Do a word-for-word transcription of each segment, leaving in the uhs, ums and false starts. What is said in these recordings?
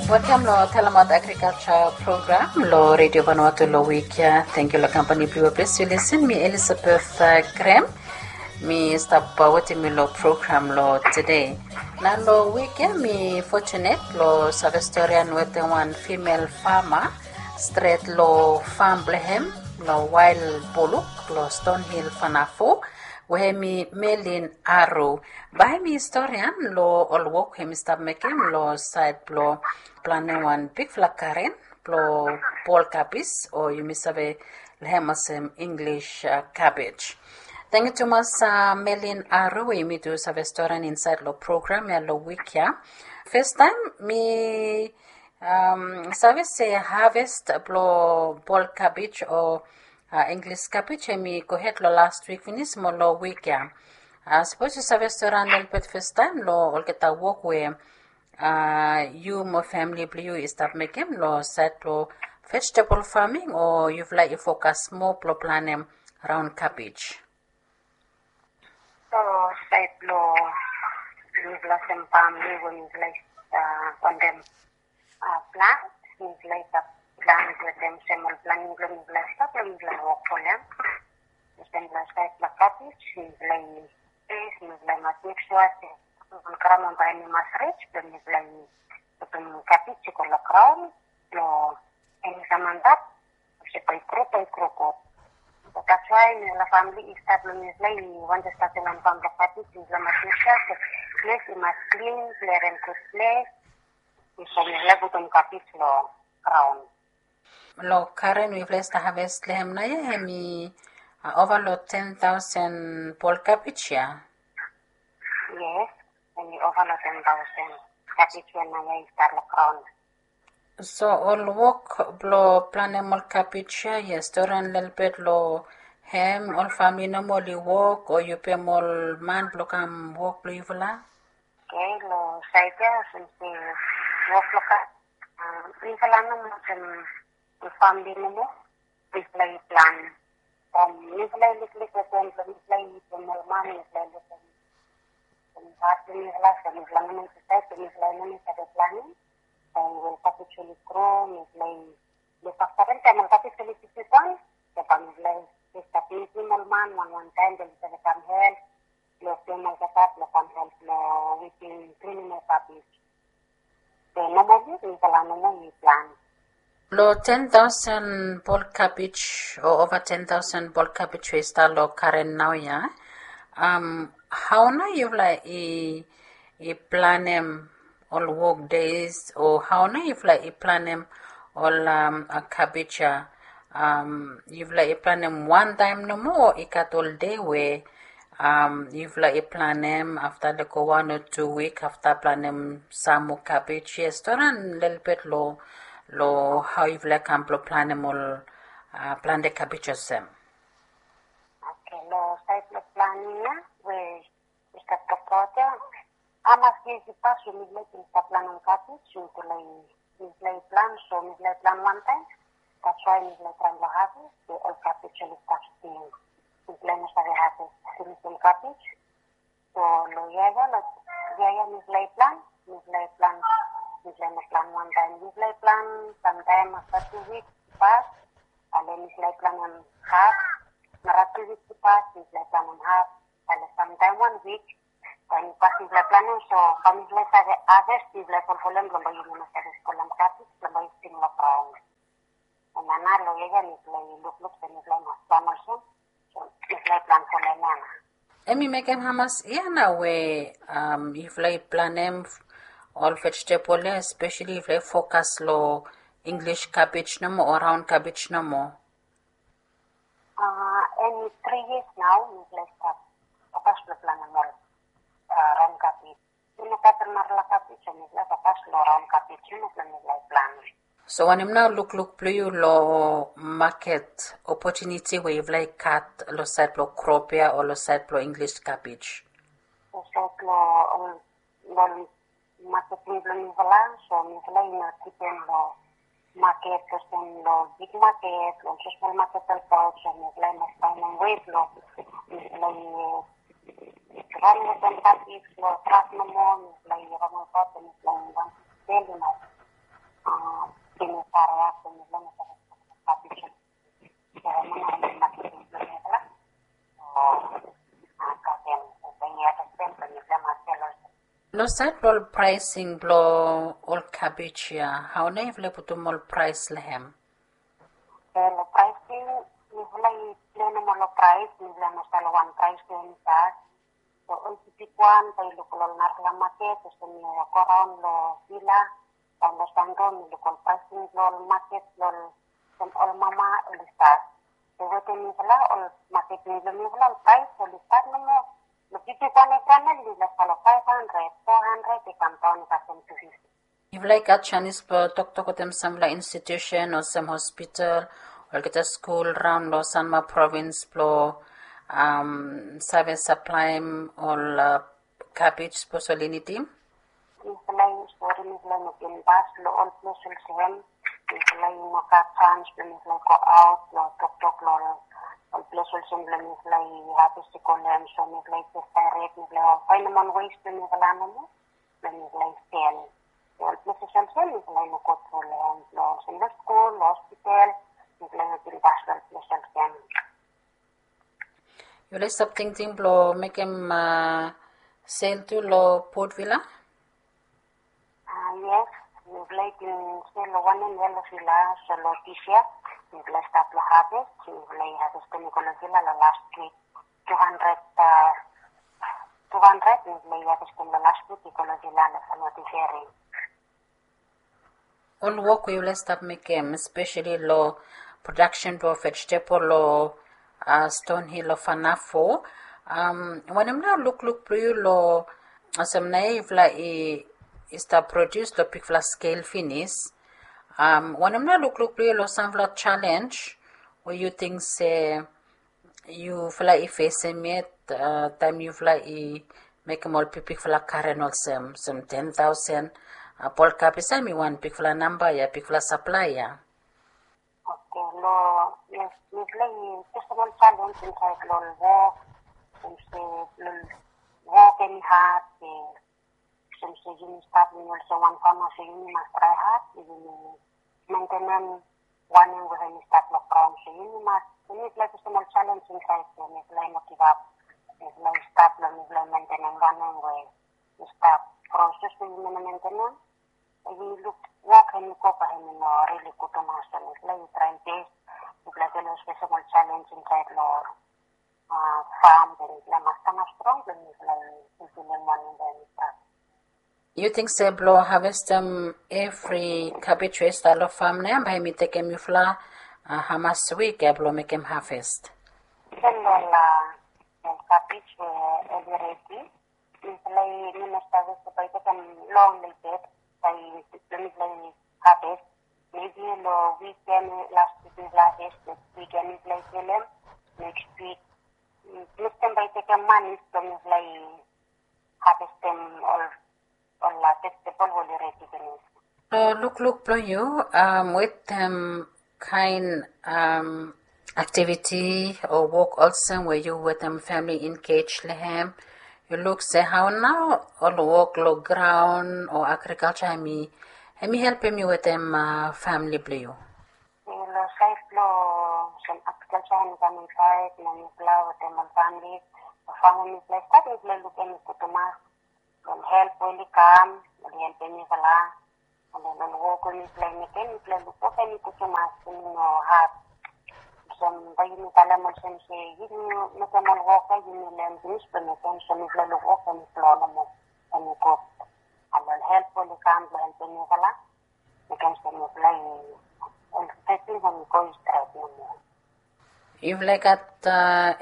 Welkam long Talamaot Agrikalja program long Redio Vanuatu long wik ya. Tangkiu long kampani blong yu we ples yu lisin. Mi Elisabeth, uh, Grem. Mi stap, uh, wetem yu long program long tede. Nao long wik ya mi fortunate long save storian wetem wan female farmer stret long fam blong hem long Wail Buluk long Stonehill, Fanafu, we hem i Melin Aru. Bae hem i storian long ol wok we hem i stap mekem long saed blong planem wan bigfala garen blong bol kabej, o yumi save long hem olsem English, uh, cabbage. Tangkiu tumas, uh, Melin Aru, we yumi tu save storian insaed long program ya long wik ya. Fastaem mi, um, save se haves blong bol kabej o, uh, English cabbage hem i gohed long las wik finis mo long wik ya. Uh, sapos yu save storian lelebet fastaem long olgeta wok we, uh, yu mo famili blong yu i stap mekem long saed blong vegetable farming, o yufala i fokas moa blong planem raon kabej? Long saed blong mifala olsem famili we mifala i, uh, wantem, uh, plant, mifala i stap plant wetem semol planing blong mifala i stap blong mifala i wok long hem. Olsem long saed blong kabej, mifala i, mifala i mas mek sua se ol graon bae hem i mas rij blong mifala i putum kabej i go long graon blong hem i kam antap, olsem bae i gro, bae i gro gud. So that's why mifala famili i stat blong mifala i wantem statem wan fam blong kabej, mifala mas mek sua se ples i mas klin, ples hem gud ples, bifo mifala putum kabej long graon. Long garen we yufala i stap haves long hem naoia, hem i, uh, ova long ten taosen bol kabej ya? Yes, hem i ova long ten taosen kabej we naoia i stap long graon. So ol wok blong planem ol kabej ya, yu storian lelebet long hem, ol famili nomo oli wok, o yu pem ol man blong kam wok blong yufala? Oke, long saed ya olsem se wok blong kabej, uh, mifala nomo olsem famili nomo mifala i plan. From mifala i liklik wetem blong mifala i pem ol man, mifala i luk hem, hem hat blong mifala, so mifala nomo i disaed se mifala i no nid save planem. Taem we ol kabej oli gro, mifala i luk afta hem, taem ol kabej oli bigwan, so bae mifala i stap mitim ol man wan wan taem blong oli save kam help long pem olgeta blong kam help long weeding, trimming ol kabej. So nomali mifala nomo i plan. Long ten taosen bol kabej o ova ten taosen bol kabej we i stap long garen naoia, um, hao nao yufala i, i planem ol wok deis, o hao nao yufala i planem ol, um, uh, kabej ya? Um, yufala i planem wan taem nomo, o i gat ol dei we, um, yufala i planem afta, like, wan o tu wik afta planem sam moa kabej? Yes, storian lelebet long, long hao yufala i kam blong planem ol, uh, plante kabej olsem. Oke, long saed blong planem ya we i stap tokbaot ya, hamas yia i pas we mifala i bin stap planem kabej, mifala i, mifala i plan, so mifala i plan wan taem. That's why mifala i traem blong haves, we ol kabej oli stap stil. Mifala i no save haves finis ol kabej. So long yia ya, long yia ya mifala i plan, mifala i plan, mifala i no plan wan taem. Mifala i plan samtaem afta tu wik i pas, ale mifala i planem haf. Nara tu wik i pas, mifala i planem haf. Ale samtaem wan wik, taem i pas mifala i planem, so bae mifala i save haves, mifala i folfolem blong bae yumi no save spolem kabej blong bae i sting long graon. Hemia nao long yia ya mifala i lukluk se mifala i mas plan olsem. So mifala i plan folem ya nao. Hem i mekem hamas yia nao we, um, yufala i planem ol vegetable ya, especially yufala i fokas long English cabbage nomo o raon kabej nomo? Uh, hem i tri yias nao mifala i stap fokas long planem ol, uh, raon kabej. Mifala i no gat narafala kabej, so mifala i fokas long raon kabej ya nao blong mifala i plan. So wanem nao lukluk blong yu long maket opotuniti we yufala i gat long saed blong krop ya o long saed blong English kabej? Long saed blong, um, long maket blong mifala, so mifala i no dipen long maket olsem long big maket, long smol maket olbaot, so mifala i mas faenem wei blong mifala i raon wetem kabej long trak nomo, mifala i raon olbaot, mifala i wantem sel i mas Pinis area, pinis lo mifala. Lo saed blo ol pricing blo ol cabbage ia, hao nao yufala i putum ol price lo hem? Lo pricing, mifala i plen nomo lo price, mifala no sel wan price lo hem. So ol bigwan bae i luk lo ol narafala maket olsem i go raon lo Vila, raon lo Sandro, mi luk ol pricing blo ol maket blo ol, olsem ol mama oli stat. So wetem mifala ol maket blo mifala ol price oli stat nomo. Lo bigwan ekran oli stat lo five hundred, four hundred, i kam daon i kasem two fifty. Yufala i gat janis blo toktok wetem samfala institusen olsem hospital, olgeta skul raon lo Sanma provins blo save saplaem ol kabej sapos oli nidim? Mifala i stori, mifala i mekem bas lo ol ples olsem. Mifala i no gat jans blo mifala i go aot blo toktok lo ol ples olsem blo mifala i haves i go lo hem. So mifala i jes daerek, mifala i faenem wan wes blo mifala nomo. Blo mifala i sel. Ol ples olsem mifala i no go tru lo hem, blo olsem lo skul, lo hospital, mifala i no bin bas lo ol ples olsem. Yufala i stap tingting blo mekem sel tu lo Port Vila? Yes, mifala i bin sel lo wanem ia lo Vila, so lo disia mifala i stap lo haves, mifala i havestem i go lo Vila lo las wik. Two hundred, two hundred mifala i havestem lo las wik i go lo Vila lo Sanma Tiveri. Ol wok we yufala i stap mekem, espeseli lo prodaksen blo vegetable lo Stonhill, lo Fanafo, wanem nao lukluk blo yu lo, olsem naoia yufala i stap prodius lo bigfala skel finis? Wanem nao lukluk blo yu lo samfala jalenj we yu ting se yufala i fesem yet taem yufala i mekem ol bigbigfala garen olsem, olsem ten tausen? Bol kabej ia hemi wan bigfala namba ia, bigfala saplae ia. Oke, lo, yes, mifala i fesem ol jalenj insaed lo ol wok, olsem se lo ol wok hemi had, olsem se yumi stap, yumi olsem wan fama, so yumi mas trae had blo yumi mentenem wanem we hemi stap lo graon. So yumi mas, yumi mifala i fesem ol jalenj insaed ia, mifala i no givap. Mifala i stap blo mifala i mentenem wanem we i stap. Proses we yumi no mentenem, yumi luk wok hemi go bae hemi no rili gud tumas. So mifala i traem bes, mifala i felem olsem ol jalenj insaed lo fam, blo mifala mas stap strong blo mifala i fulfilem wanem we hemi stap. Yu ting se blo havestem evri kabej we i stap lo fam nao ia bae hemi tekem yufala hamas wik ia blo mekem haves? Depend lo ol kabej we oli redi. Mifala i, mi no save se bae i tekem long lelebet bae mifala i haves. Mebi lo wik ia, las wik mifala haves, nekis wik ia mifala i selem, nekis wik. Nekis taem bae i tekem manis blo mifala i havestem ol, ol vegetable we oli redi finis. Lo lukluk blo yu wetem kaen aktiviti o wok olsem we yu wetem famili engej lo hem, yu luk se hao nao ol wok lo graon o agrikalja hemi, hemi helpem yu wetem famili blo yu? Lo saed blo olsem agrikalja hemi kam insaed, mo mifala wetem ol famili, lo fam we mifala i stap, mifala i luk hemi gud tumas. Ol help we oli kam, oli helpem mifala. Mo ol wok we mifala i mekem, mifala i luk wok hemi gud tumas, hemi no had. Olsem bae yumi talem olsem se yumi mekem ol wok ia, yumi len finis blo mekem, so mifala i luk wok hemi flo nomo, hemi gud. Mo ol help we oli kam blo helpem mifala, mekem se mifala i, ol fesin hemi go stret nomo. Yufala i gat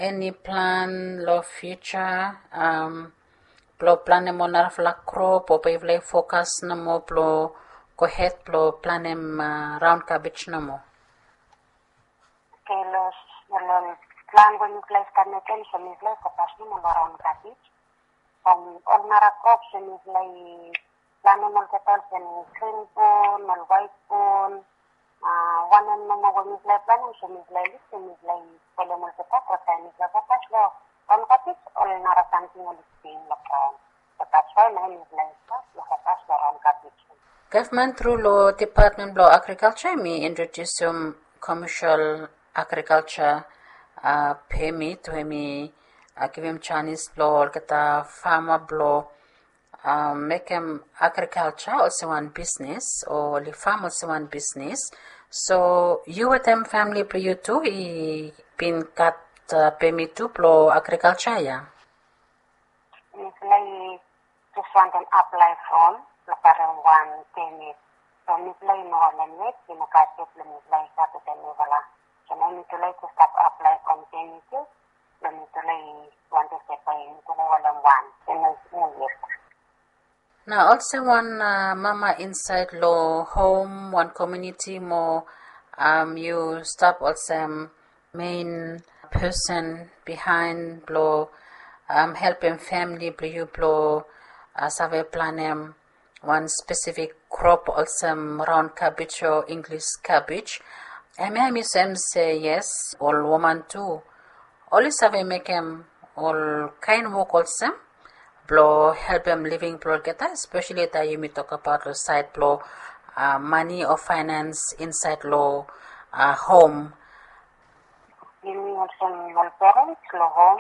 eni plan lo fiuja blo planem ol narafala krop, o bae yufala i fokas nomo blo gohed blo planem raon kabej nomo? Oke, lo, lo plan we mifala i stap mekem, so mifala i fokas nomo lo raon kabej. From ol nara krop, so mifala i planem olgeta olsem grin bin, ol waet bin, wanem nomo we mifala i planem, so mifala i luk se mifala i felem olgeta, but taem mifala i fokas lo raon kabej, ol nara samting oli stap lo graon. So that's why nao mifala i stap lo fokas lo raon kabej. Gavman tru long depatmen blong agrikalja em i introdiusim komesel agrikalja pemit we em i givim janis blong olgeta fama blong mekem agrikalja olsem wan bisnis o oli fam olsem wan bisnis. So yu wetem famili blong yu tu i bin gat pemit tu blong agrikalja ya? Mifala i jes wantem aplae from blong karem wan pemit. So mifala i no holem yet, i no gat yet blong mifala i gat wetem mifala. So nao mitufala i jes stap aplae from pemit tu blong mitufala i wantem se bae mitufala i holem wan pemit. Nao olsem wan mama insaed long hom, wan komuniti mo yu stap olsem mein pesen bihaen blong helpem famili blong yu blong save planem wan spesifik krop olsem raon kabej o Inglis kabej. Hemia em i soem se yes, ol woman tu oli save mekem ol kaen wok olsem blong helpem living blong olgeta, espeseli taem yumi tokbaot long saed blong mani o faenans insaed long hom. Yumi olsem ol perens long hom,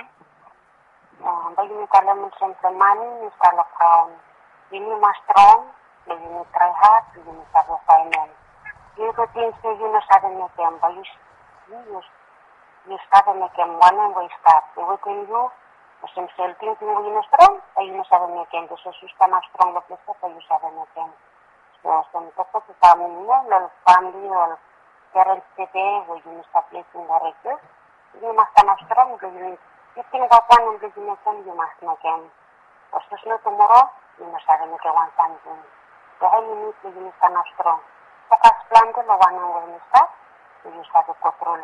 bae yumi talem olsem blong mani i stap long graon. Yumi mas strong blong yumi trae had blong yumi save faenem. Yu no ting se yu no save mekem, bae yu yu save mekem wanem we i stap wetem yu. Olsem se ol tingting we yu no strong bae yu no save mekem, be sapos yu stanap strong long ples ya bae yu save mekem. So olsem toktok i kam, yu no, long ol famili, ol perens tede we yumi stap lisin long redio, yumi mas stanap strong blong yumi, yu tingbaot wanem blong yu mekem, yu mas mekem. Sapos no tumoro yu no save mekem wan samting. So hemia i nid blong yumi stanap strong. Fokas plante long wanem we yumi stap, so yu save go tru.